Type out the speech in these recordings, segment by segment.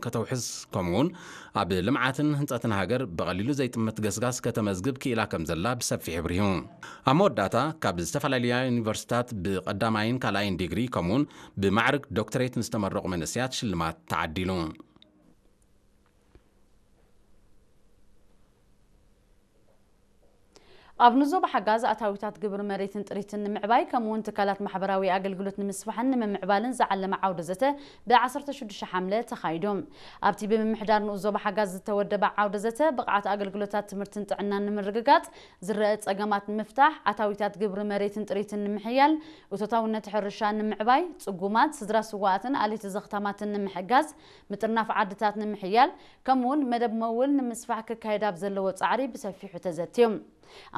ከተውሕስ፣ ከምኡውን ኣብ ልምዓትን ህንጸትን ሃገር ብቐሊሉ ዘይጥመት ገስጋስ ከተመዝግብ ክኢላ ከም ዘላ ብሰፊሕ ኣብሪሁ። ኣብ መወዳእታ፣ ካብ ዝተፈላለያ ዩኒቨርሲታት ብቐዳማይን ካልኣይን ዲግሪ፣ ከምኡውን ብማዕርግ ዶክተሬት ንዝተመረቑ መንእሰያት ሽልማት ተዓዲሉ። ኣብ ንዞባ ሓጋዝ ኣታዊታት ግብሪ መሬትን ጥሪትን ንምዕባይ፣ ከምኡውን ትካላት ማሕበራዊ ኣገልግሎት ንምስፋሕን ንምምዕባልን ዝዓለመ ዓውደ ዘተ ብ ዓሰርተ ሽዱሽተ ሓምለ ተኻይዱ። ኣብቲ ብምምሕዳር ንኡስ ዞባ ሓጋዝ ዝተወደበ ዓውደ ዘተ፣ ብቕዓት ኣገልግሎታት ትምህርትን ጥዕናን ንምርግጋጽ፣ ዝረአ ጸገማት ንምፍታሕ፣ ኣታዊታት ግብሪ መሬትን ጥሪትን ንምሕያል፣ እቶታውነት ሕርሻ ንምዕባይ፣ ጽጉማት፣ ስድራ ስዋኣትን ኣሌት ዘኽታማትን ንምሕጋዝ፣ ምጥርናፍ ዓድታት ንምሕያል፣ ከምኡውን መደብ መውል ንምስፋሕ ክካየድ ኣብ ዘለዎ ጻዕሪ ብሰፊሑ ተዘትዩ።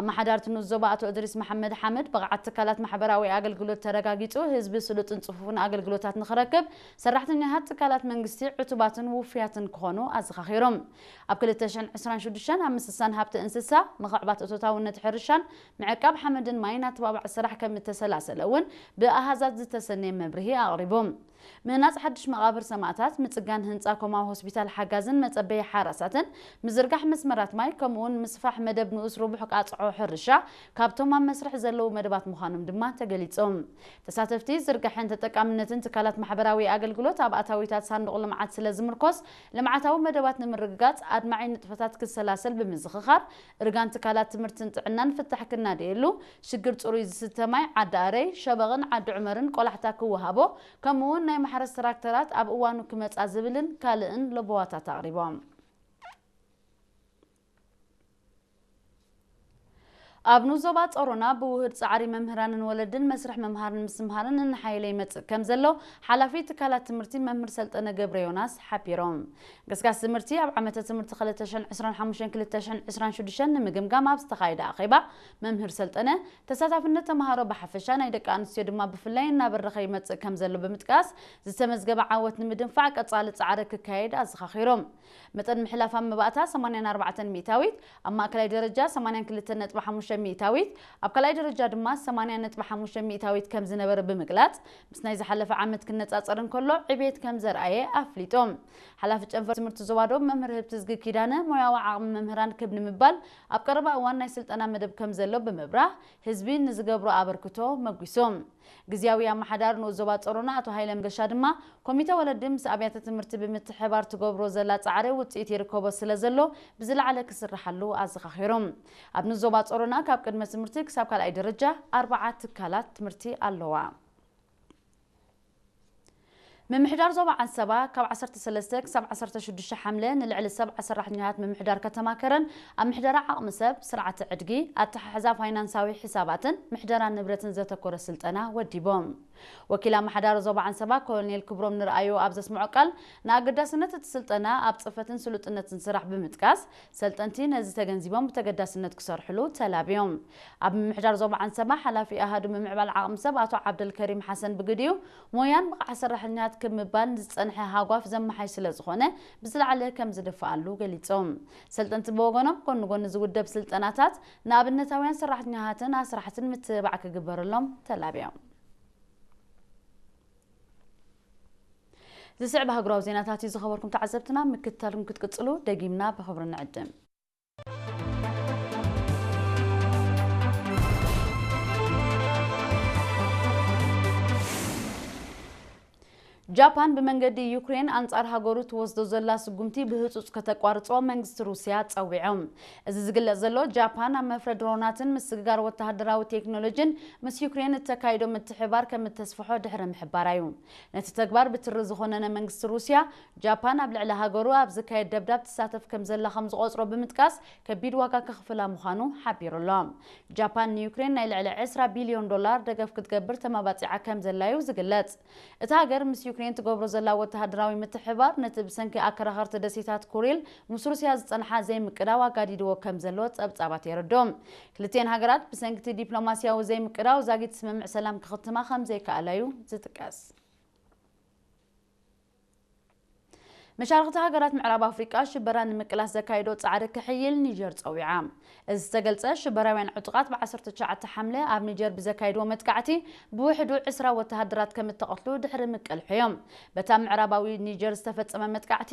ኣመሓዳርቲ ንኡስ ዞባ ኣቶ እድሪስ መሓመድ ሓመድ፣ ብቕዓት ትካላት ማሕበራዊ ኣገልግሎት ተረጋጊጹ፣ ህዝቢ ስሉጥን ጽፉፍን ኣገልግሎታት ንኽረክብ፣ ሰራሕተኛታት ትካላት መንግስቲ ዕቱባትን ውፉያትን ክኾኑ ኣዘኻኺሮም። ኣብ ክልተ ሽሕን ዕስራን ሽዱሽተን ኣብ ምስሳን ሃብቲ እንስሳ፣ ምኽዕባት እቶታውነት ሕርሻን ምዕቃብ ሓመድን ማይን ኣተባባዒ ስራሕ ከም እተሰላሰለ እውን ብኣሃዛት ዝተሰነየ መብርሂ ኣቕሪቦም። ምህናጽ ሓድሽ መቓብር ሰማእታት፣ ምጽጋን ህንጻ ኮማዊ ሆስፒታል ሓጋዝን መጸበዪ ሓራሳትን፣ ምዝርጋሕ መስመራት ማይ፣ ከምኡውን ምስፋሕ መደብ ንኡስ ርቡሕ ቃጽዖ ሕርሻ ካብቶም ኣብ መስርሕ ዘለዉ መደባት ምዃኖም ድማ ተገሊጾም። ተሳተፍቲ፣ ዝርጋሐን ተጠቃምነትን ትካላት ማሕበራዊ ኣገልግሎት ኣብ ኣታዊታት ሳንዱቕ ልምዓት ስለ ዝምርኮስ፣ ልምዓታዊ መደባት ንምርግጋጽ ኣድማዒ ንጥፈታት ክሰላሰል ብምዝኽኻር፣ እርጋን ትካላት ትምህርትን ጥዕናን ፍታሕ ክናደየሉ፣ ሽግር ጽሩይ ዝስተ ማይ ዓዲ ኣረይ፣ ሸበቕን ዓዲ ዑመርን ቆላሕታ ክወሃቦ፣ ከምኡውን ናይ ማሕረስ ትራክተራት ኣብ እዋኑ ክመጻ ዝብልን ካልእን ለበዋታት ኣቕሪቦም። ኣብ ንኡስ ዞባ ጾሮና ብውህድ ጻዕሪ መምህራንን ወለድን መስርሕ ምምሃርን ምስትምሃርን እናሓየለ ይመጽእ ከም ዘሎ ሓላፊ ትካላት ትምህርቲ መምህር ሰልጠነ ገብረ ዮናስ ሓቢሮም። ገስጋስ ትምህርቲ ኣብ ዓመተ ትምህርቲ ክልተ ሽሕን ዕስራን ሓሙሽተን ክልተ ሽሕን ዕስራን ሽዱሽተን ንምግምጋም ኣብ ዝተኻየደ ኣኼባ፣ መምህር ሰልጠነ፣ ተሳታፍነት ተምሃሮ ብሓፈሻ ናይ ደቂ ኣንስትዮ ድማ ብፍላይ እናበረኸ ይመጽእ ከም ዘሎ ብምጥቃስ፣ ዝተመዝገበ ዓወት ንምድንፋዕ ቀጻሊ ጻዕሪ ክካየድ ኣዘኻኺሮም። መጠን ምሕላፍ ኣብ መባእታ ሰማንያን ኣርባዕተን ሚእታዊት፣ ኣብ ማእከላይ ደረጃ ሰማንያን ክልተን ነጥቢ ሓሙሽተ ሚእታዊት፣ ኣብ ካልኣይ ደረጃ ድማ ሰማንያን ነጥቢ ሓሙሽተ ሚእታዊት ከም ዝነበረ ብምግላጽ፣ ምስ ናይ ዝሓለፈ ዓመት ክነጻጸር እንከሎ ዕቤት ከም ዘርኣየ ኣፍሊጦም። ሓላፊ ጨንፈር ትምህርቲ ዞባ ዶብ መምህር ህብትዝጊ ኪዳነ፣ ሞያዊ ዓቕሚ መምህራን ክብ ንምባል ኣብ ቀረባ እዋን ናይ ስልጠና መደብ ከም ዘሎ ብምብራህ፣ ህዝቢ ንዝገብሮ ኣበርክቶ መጒሶም። ግዝያዊ ኣመሓዳሪ ንኡስ ዞባ ጾሮና ኣቶ ሃይለ መንገሻ ድማ፣ ኮሚተ ወለዲ ምስ ኣብያተ ትምህርቲ ብምትሕብባር ትገብሮ ዘላ ጻዕሪ ውጽኢት ይርከቦ ስለ ዘሎ፣ ብዝለዓለ ክስርሓሉ ኣዘኻኺሮም። ኣብ ንኡስ ዞባ ጾሮና ካብ ቅድመ ትምህርቲ ክሳብ ካልኣይ ደረጃ ኣርባዓ ትካላት ትምህርቲ ኣለዋ። ምምሕዳር ዞባ ዓንሰባ ካብ ዓሰርተ ሰለስተ ክሳብ ዓሰርተ ሽዱሽተ ሓምለ ንልዕሊ ሰብዓ ሰራሕተኛታት ምምሕዳር ከተማ ከረን ኣብ ምሕደራ ዓቕሚ ሰብ፣ ስርዓተ ዕድጊ፣ ኣተሓሕዛ ፋይናንሳዊ ሕሳባትን ምሕደራ ንብረትን ዘተኮረ ስልጠና ወዲቦም። ወኪል ኣመሓዳሪ ዞባ ዓንሰባ ኮሎኔል ክብሮም ንርኣዮ ኣብ ዘስምዖ ቃል፣ ንኣገዳስነት እቲ ስልጠና ኣብ ጽፈትን ስሉጥነትን ስራሕ ብምጥቃስ፣ ሰልጠንቲ ነዚ ተገንዚቦም ብተገዳስነት ክሰርሕሉ ተላብዮም። ኣብ ምምሕዳር ዞባ ዓንሰባ ሓላፊ ኣሃዱ ምምዕባል ዓቕሚ ሰብ ኣቶ ዓብደልከሪም ሓሰን ብግዲኡ፣ ሞያን ብቕዓት ሰራሕተኛታት ክብ ምባል ዝጸንሐ ሃጓፍ ዘመሓይሽ ስለ ዝኾነ፣ ብዝለዓለ ከም ዝድፍኣሉ ገሊጾም። ሰልጠንቲ ብወገኖም፣ ጎኒ ጎኒ ዝውደብ ስልጠናታት ንኣብነታውያን ሰራሕተኛታትን ኣስራሕትን ምትብባዕ ክግበረሎም ተላብዮም። ዝስዕብ ሃገራዊ ዜናታት እዩ። ዝኸበርኩም ተዓዘብትና፣ ምክትታልኩም ክትቅጽሉ ደጊምና ብኽብሪ ንዕድም። ጃፓን ብመንገዲ ዩክሬን ኣንጻር ሃገሩ ትወስዶ ዘላ ስጉምቲ ብህጹጽ ከተቋርጾ መንግስቲ ሩስያ ጸዊዖም። እዚ ዝግለጽ ዘሎ፣ ጃፓን ኣብ መፍረ ድሮናትን ምስግጋር ወተሃደራዊ ቴክኖሎጂን ምስ ዩክሬን እተካይዶ ምትሕብባር ከም እተስፍሖ ድሕሪ ምሕባራ እዩ። ነቲ ተግባር ብትሪ ዝኾነነ መንግስቲ ሩስያ፣ ጃፓን ኣብ ልዕሊ ሃገሩ ኣብ ዝካየድ ደብዳብ ትሳተፍ ከም ዘላ ከም ዝቖጽሮ ብምጥቃስ፣ ከቢድ ዋጋ ከኽፍላ ምዃኑ ሓቢሩ ኣሎ። ጃፓን ንዩክሬን ናይ ልዕሊ ዕስራ ቢልዮን ዶላር ደገፍ ክትገብር ተመባጺዓ ከም ዘላ እዩ ዝግለጽ። እታ ሃገር ምስ ዩክሬን ትገብሮ ዘላ ወተሃደራዊ ምትሕብባር፣ ነቲ ብሰንኪ ኣከራኸርቲ ደሴታት ኩሪል ምስ ሩስያ ዝጸንሓ ዘይምቅዳው ኣጋዲድዎ ከም ዘሎ ጸብጻባት የረድኡ። ክልቲኤን ሃገራት ብሰንኪ እቲ ዲፕሎማስያዊ ዘይምቅዳው ዛጊት ስምምዕ ሰላም ክኽትማ ከም ዘይከኣላ እዩ ዝጥቀስ። መሻርኽቲ ሃገራት ምዕራብ ኣፍሪቃ ሽበራ ንምቅላስ ዘካየዶ ጻዕሪ ክሕይል ኒጀር ጸዊዓ። እዚ ዝተገልጸ፣ ሽበራውያን ዕጡቓት ብ ዓሰርተ ትሽዓተ ሓምለ ኣብ ኒጀር ብዘካየድዎ መጥቃዕቲ ብውሕዱ ዕስራ ወተሃደራት ከም እተቐትሉ ድሕሪ ምቅልሖም። በታ ምዕራባዊ ኒጀር ዝተፈጸመ መጥቃዕቲ